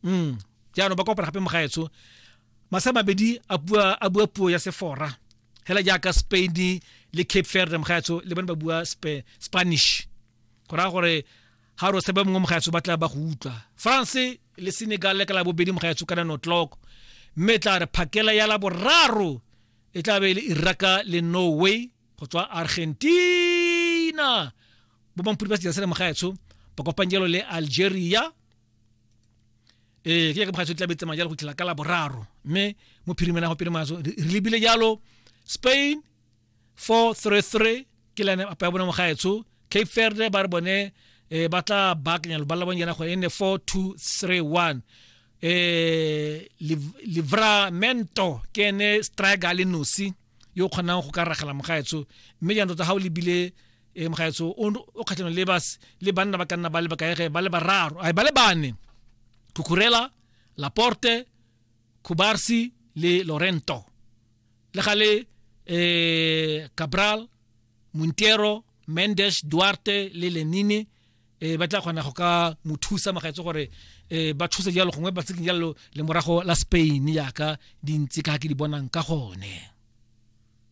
Jaanong ba kopana gape mogaetsho masa mabedi a bua a bua puo ya sefora hela jaaka Spain le Cape Verde mogaetsho le bone ba bua Spanish go raya gore ga re sebe mongwe mogaetsho ba tla ba go utlwa. France le Senegal le ka la bobedi mogaetsho ka 9 o'clock, mme e tla re phakela ya la boraro e tla be e le Iraq le Norway go tswa Argentina. Bo mampudi ba sejana sena mogaetsho ba kopang jalo le Algeria. Ee, ke mogaetsho tla be tsamaya jalo go tlhela ka la boraro, mme mo phirimela go pele mogaetsho re lebile jalo Spain 4-3-3 ke line up ya bone mogaetsho. Cape Verde ba re bone ba tla baakanya lobala la bone jaana gore e nne 4-2-3-1. Livramento ke ene striker le nosi yo o kgonang go ka ragela mogaetsho, mme jaanong tota ga o lebile mogaetsho o kgatlhanong le bas le banna ba ka nna ba le bakaege ba le bararo ai ba le bane, Cucurella, Laporte, Cubarsi le Lorento, le gale Cabral, Montero, Mendes, Duarte le Lenine ba tla kgona go ka mo thusa mogaetsho gore ba thuse jalo gongwe ba tseking jalo le morago la Spain yaka dintsi ka ke di bonang ka gone.